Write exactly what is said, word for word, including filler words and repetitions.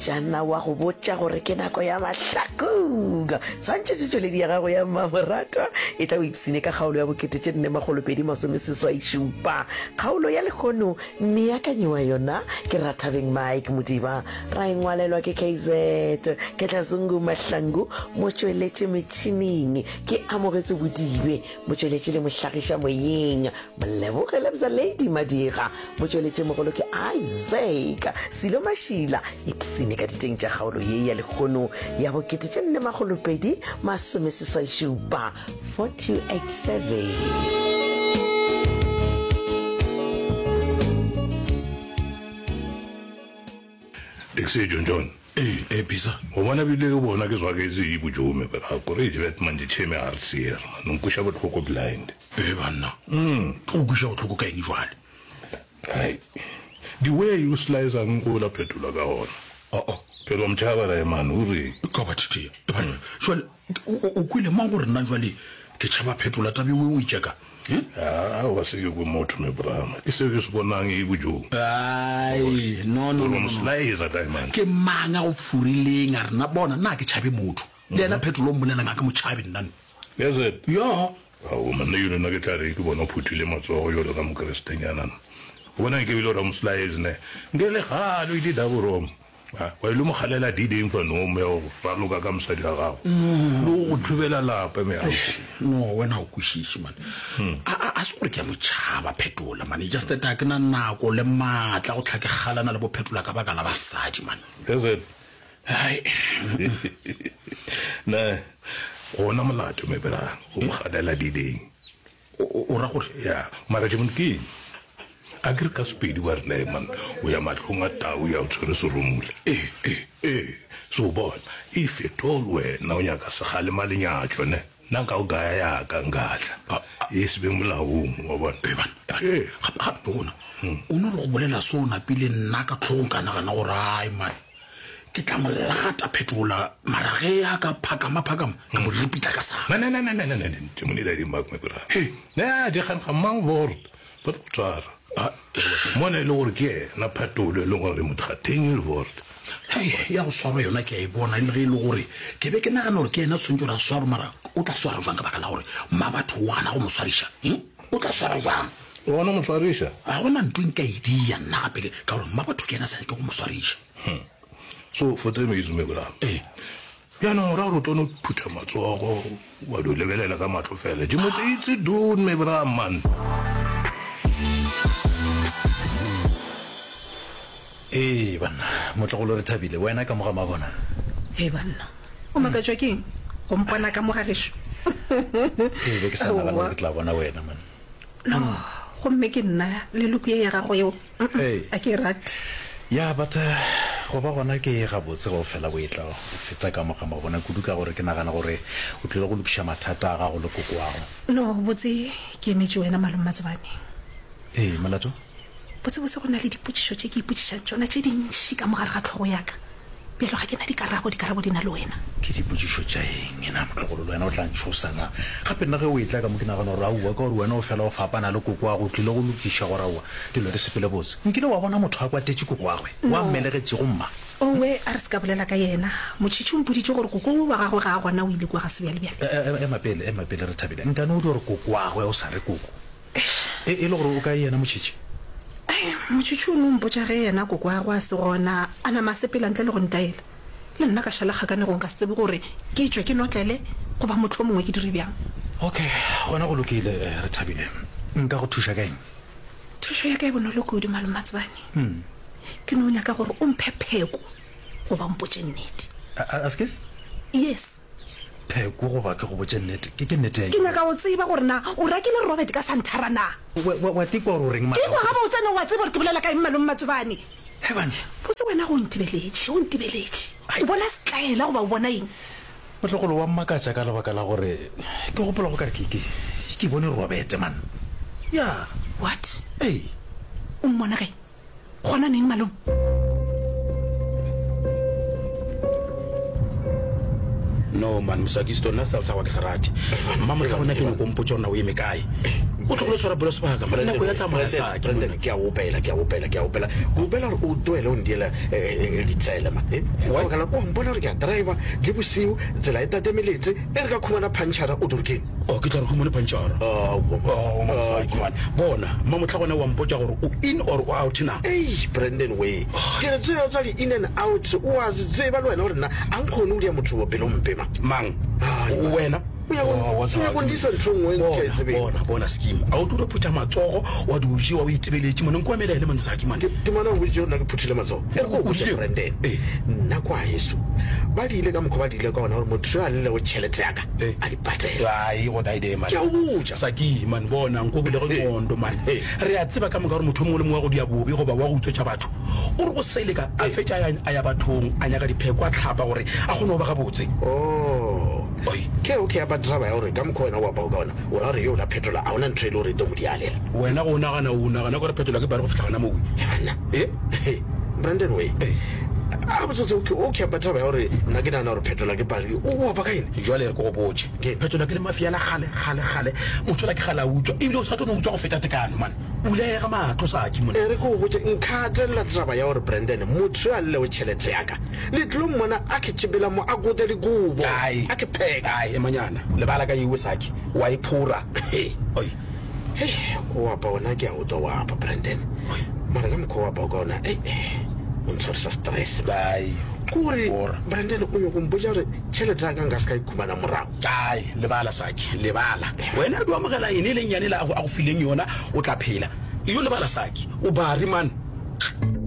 Molaetšana wa go botša gore ke nako ya mahlakong. Tshwantšhetšo tšweledi ya gago ya mmamoratwa e tla o ipsine ka kgaolo ya bokete tše nne makgolo pedi masome seswai šupa. Kgaolo ya lehono mmeakanyi wa yona ke Rathabeng Mike Modiba, ra e ngwalelwa ke K Z Ketlazungu Mahlangu, motšweletši metšhineng ke Amogetswe Bodibe, motšweletši le mohlagiša moyeng Moleboge Lebza Lady Madira, motšweletši mogolo ke Isaac Silo Mašila. Ipsine ka diteng tša kgaolo ye ya lehono ya bokete tše nne makgolo pedi masome seswai šupa, four two eight seven. Dixie John John. Ee, ee, Bisa. Go bona bile ke bona ke zwaketse e bojome but a kore e bet manje cheme a re seer man. O nkweša bohloko blind. Ee banna. Mm. Ke go kweša bohloko ka eng jwale? Hai. The way you slice ang o la phetola ka gona. Oh oh. Phela motšhaba rae man o re. Ka ba thithea. E banna. Jwale o o kwele mang gore nna jwale ke tšhaba phetola taba e o e tšeka? Aowa se ke kwe motho me brama. Ke seo ke se bonang e bojong. Ai, no no no no. Slicer kae man? Ke mang a go furileng a re na bona nna ke tšhabe motho. Le yena Phetolo o mmolelang ga ke mo tšhabe nna. Is it? Ya. Aowa man nna yone nna ke tla reng ke bona o phuthile matsogo jalo ka mokrestenyana. O bona nke bile o ra mo slice ne. Nke le gale o ile double wrong. Wa ile mo kgalela dideng fa no me o raloka ka mosadi wa gago. Le go thubela lapa me ausi. No wena o kwešiše man. A a a se gore ke a mo tšhaba Phetola man. Just that a ke na nako le maatla go tlha ke kgalana le bo Phetola ka baka la basadi man. Is it? Hai. Ne gona molato me bra go mo kgalela dideng. O o ra gore? Ya mara tšemon ke eng? A ke re ka Sepedi ba re nee man, o ya mahlong a tau ya o tshwere seromula. Ee, ee. Ee, so bona, if at all wena o nyaka sekgalema lenyatšo ne, nna nka go gaya ya ka nkatla, e se be molaong, wa bona. Ee banna, ee banna. Ee. Gape, gape bona, o no re go bolela se o napile nna ka hlogong ka nagana gore ai man, ke tla mo lata Phetola, mara ge a ka phakama phakama, ka mo ripitla ka sa. Ne, ne, ne, ne, ne, ne, ne, ne, Modimo ne di mark me bra. Hei. Ne, di kgang ga mang word. Ba tlo go tshwara. Mona e le gore ke yena Phatolo e leng gore motho ga teng word. Hei, ya go swarwa yona ke a e bona, e le ge e le gore ke be ke nagana gore ke yena tshwanetse gore a swarwe, mara o tla swara jwang ka baka la gore Mmabatho o gana go mo swariša? Hm? O tla swara jwang? O gana go mo swariša? Ga go na ntho e nka e dia nna gape ka gore Mmabatho ke yena a sa nyake go mo swariša. Hm. So for three minutes me bra. Ee. Bjanong o ra gore o tlo no phutha matsogo wa dio lebelela ka mahlo fela. Di motho itse doen me bra man. Ee banna, motlogolo re thabile, wena ka mo ga mabona. Hei banna, o makatšwa ke eng go mpona ka mo ga gešo? Ee, be ke sa nagana gore ke tla bona wena man. No, gomme ke nna le look ye ya gago yeo, Ee. a ke e rate. Ya, but go ba gona ke gabotse ge o fela o etla o fetsa ka mo ga mabona kudu ka gore ke nagana gore o tlile go lokiša mathata a gago le kokoago. No, botse ke emetše wena Malome Matsobane. Ee, molato? Botsebotse go na le dipotšišo tše ke ipotšišang tšona tše dintši ka mo gare ga hlogo ya ka. Bjalo ga ke na dikarabo, dikarabo di na le wena. Ke dipotšišo tša eng na, motlogolo? Le wena o tla ntšhosa na? Gape nna ge o etla ka mo ke nagana gore aowa, ka gore wena o fela o fapana le kokoago, o tlile go lokiša gore aowa dilo di sepele botse. Nkile wa bona motho a kwatetše kokoagwe, wa No. mmelegetšego mma? Owe, a re se ka bolela ka yena. Motšhitšhi o mpoditše gore koko wa gagwe ga a gona, o ile kua ga sebjalebjale. Ema pele, ema pele, Rethabile. Nkane o dio re kokoagwe o sa re koko? Eish. E, e le gore o kae yena Motšhitšhi? Ai, Motšhitšhi o no mpotša ge yena kokoagwe a se gona, a nama a sepela ntle le go ntaela. Le nna ka šala kgakanegong ka se tsebe gore ke tšwe ke notlele goba mohlomongwe ke dire bjang. Okay, gona go lokile, Rethabile. Nka go thuša ka eng? Thušo ya ka e bonolo kudu, Malome Matsobane. Ke no nyaka gore o mphe pheko goba o mpotše nnete. Askes? Yes. Pheko goba ke go botše nnete? Ke, ke nnete ya Ke eng? nyaka go tseba gore na o rakile Robert ka santhara na. Wa, wa, wa tikwa gore o reng, Ke kwa Malome? gabotse, na o a tseba gore ke bolela ka eng, Malome Matsobane? He banna. Botse wena go ntibeletše, o ntibeletše. O bona setlaela goba o bona eng? Motlogolo wa mmakatša ka lebaka la gore ke gopola go ka re ke, ke, ke bone Robert man. Ya. What? Ee. O mmona kae? Gona neng malome? No man, Mosakisto, nna setaele sa gago ke se rate. Mmamohla gona ke nyako o mpotša gore na o eme kae. O tlogole swara bolo sebaka man. Nako ya tsamaya Saki. Brandon, ke a opela, ke a opela, ke a opela. Ke opela gore o tlohele o ndiela ditsele man. Eh? Why? Ka baka la o mpona gore ke a driver le bosiu, tsela e tatemeletse, e re ka khumana punchara o tlo re keng? Oh, ke tla re khumane punchara. Oh, Oh, man, Saki man. Bona, mmamohla gona wa mpotša gore o in or o out na? Ei, Brandon we. Ke re tseba tsa di in and out, o a se tseba le wena gore nna a nkgone go dia motho wa pelompe man. Mang? Ai, man. Wena? O ya go- Oh, o ya go ndisa ntho e nngwe ke a e Bona, tsebeng. bona, bona scheme. A o tlo phutha matsogo wa di o jewa o itebeletše mone nko emela ene man Saki man. Ke ke mona o boditše gore nna ke phuthile matsogo. E re ko botše O Brandon. Eh. Nna kwa heso ba diile ka mokgwa ba diile ka ona gore motho yo a llelego tšhelete ya ka Eh. a di patele. Ai, go daide man. Ke a o botša. Saki man, bona nko bile go nqondo man. Eh. Re a tseba ka moka gore motho o mongwe le mongwe wa go dia bobe goba wa go utswetša batho. O re go seleka a fetša a ya- a ya bathong a nyaka dipheko a tlhapa gore a kgone go ba gabotse. Oh. Oi. Ke okay ya ba driver ya gore ka mokgwa wena o apao ka ona o ra gore yo la phetola a ona ntho e le gore e tlo mo dialela. Wena go nagana o nagana gore phetola ke bare go fihla gona moo. Banna. Eh? Brandon we. Eh. A botsotse okay okay ba driver ya gore nna ke nagana gore phetola ke pari o apa ka eng? Jwale re ke go botše. Ke? Phetola ke le mafia la kgale kgale kgale. Motho ola ke kgale a utswa ebile o sa tlo no utswa go feta tekano man. Bulega mahlo Saki mone. E re ke o botše nka gatelela taba ya gore Brandon motho yo a llelego tšhelete ya ka le tlo mmona a ke tšhepela mo a kote dikobo Ai. a ke pheka. Ai, emanyana. Lebala ka iwe Saki. Wa iphora. Oi. Hei, o apa ona ke a utlwa o apa Brandon. Mara ka mokgwa o apa ka ona ei o ntshwarisa stress. Ai. Ke gore Bora. Brandon o nyako mpotša gore tšhelete ya ka nka se ka e khumana morago. Ai, lebala Saki, lebala. Wena o amogela ene le nyane la a go a go fileng yona, o tla phela. Iyo lebala Saki. O bari man.